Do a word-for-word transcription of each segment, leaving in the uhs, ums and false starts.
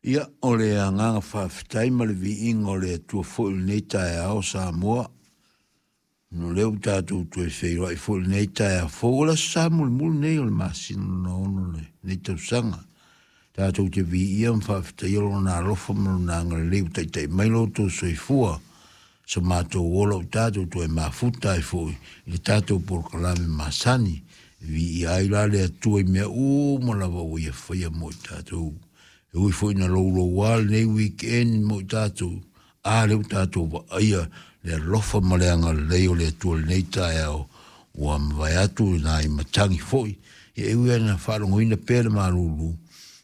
Ia, o le agaga faafetai ma le viiga o le Atua foi i lenei taeao Samoa, ona o lea ua tatou toe feiloai foi i lenei taeao fou. O le aso Sa mulimuli lenei o le masina lona ono o lenei tausaga. Tatou te viia ma faafetaia Lona alofa ma Lona agalelei ua taitai mai lo outou soifua, so matou ola ua tatou toe mafuta ai foi i le tatou polokalame masani. E viia ai la le Atua i mea uma lava ua Ia faia mo i tatou. E ui foi ina louloua lenei weekend mo i tatou, a lea ua tatou vaaia le alofa ma le agalelei o le Atua i lenei taeao ua mavae atu i nai matagi foi. Ia e ui lava ina faalogoina pea le malulu,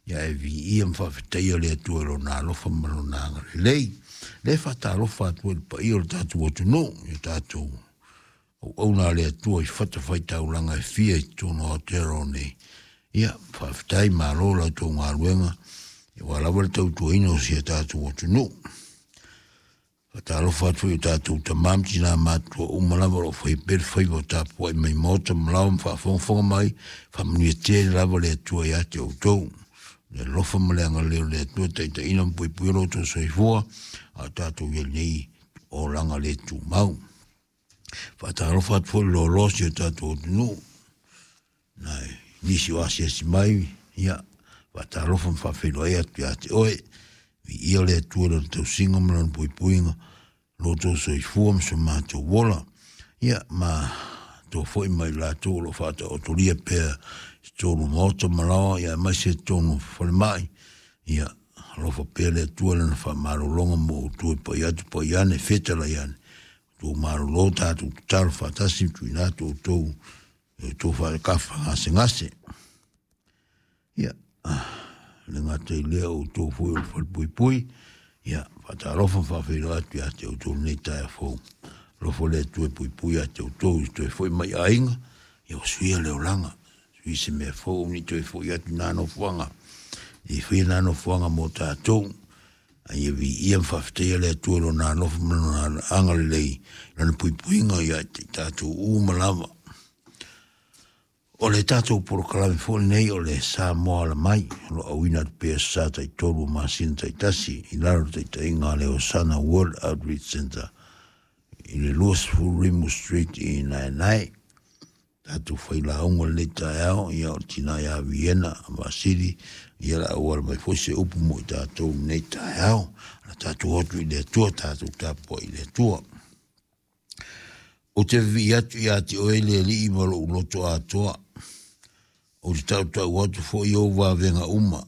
ia ae viia ma faafetaia le Atua i Lona alofa ma Lona agalelei. Le faatalofa atu ai i le paia o le tatou atunuu, i tatou auauna a le Atua i fatafaitaulaga e fia i totonu o Aotearoa nei. Ia, faafetai, malo la outou galuega aua lava le tautuaina o si a tatou atunuu. Faatalofa atu foi i o tatou tama ma tina matutua uma lava o lo o faia pea le faiva o tapuai mai maota ma laoa ma faafogafoga mai, faamanuia tele lava le Atua ia te outou. Le alofa ma le agalelei o le Atua taitaiina ma puipuia lo outou soifua, a o tatou i ai nei olaga le tumau. Faatalofa atu foi i le loaloa o si o tatou atunuu, nai nisi o asiasi mai, ia, faatalofa ma faafeiloai atu ia te oe. Viia le Atua i lona tausiga ma lona puipuiga, lo outou soifua ma so matou ola. Ia, ma toa foi mai latou o lo o faataotolia pea i totonu o maota ma laoa, ia aemaise i totonu o falemai. Ia, alofa pea le Atua i lana faamalologa mo outou e pai atu pai ane, fetalai ane, outou malolo tatou tatalo faatasi ma tuuina atu outou i outou faakafa gasegase. Ia, le gata i lea o outou foi o le falepuipui, ia, faatalofa ma faafeiloai atu ia te outou i lenei taeao fou. Alofa le Atua e puipui ia te outou i toe foi mai aiga, ia ua suia le olaga, sui se mea fou ni toe foi atu nā nofoaga, i faia nā nofoaga mo tatou. A ia viia ma faafetaia le Atua i Lona alofa ma Lona agalelei, Lana puipuiga ia te i tatou uma lava. O le tatou polokalame foi lenei o le Samoa Ala Mai, o lo o auina atu pea sa taitolu o masina taitasi i lalo o le taitaiga a le Osana World Outreach Center i le luasefulu Rimu Street i Naenae. Tatou failauga lenei taeao, ia o le tina ia Viena Vasili, ia le auala mai foi se upu mo i tatou lenei taeao. Na tatou o atu i le Atua, tatou tapuai i le Atua. Ou te vivii atu ia te oe le Alii ma lou loto atoa. Ou te tautau atu foi ou vavega uma.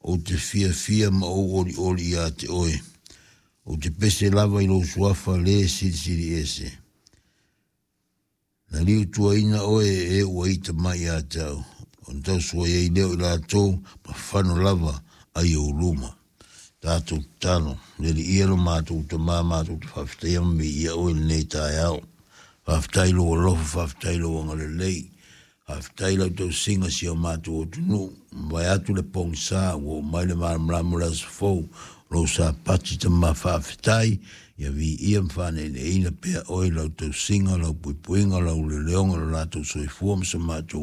Ou te fiafia ma ou olioli ia te oe. Ou te pese lava i lou suafa le silisili ese. Na liutuaina oe e ua ita mai ia te au, ona tausuai ai lea o i latou ma fano lava ai ou luma. Tatou tatalo, le Alii lo matou Tama, matou te faafetaia ma viia oe i lenei taeao. Faafetai lou alofa, faafetai lou agalelei, faafetai lau tausiga si o matou atunuu. Mavae atu le pogisa, ua oo mai le malamalama o le aso fou, lou Sapati Tama faafetai, ia viia ma faaneeneeina pea oe i lau tausiga, lau puipuiga, lau leleoga, lo latou soifua ma so matou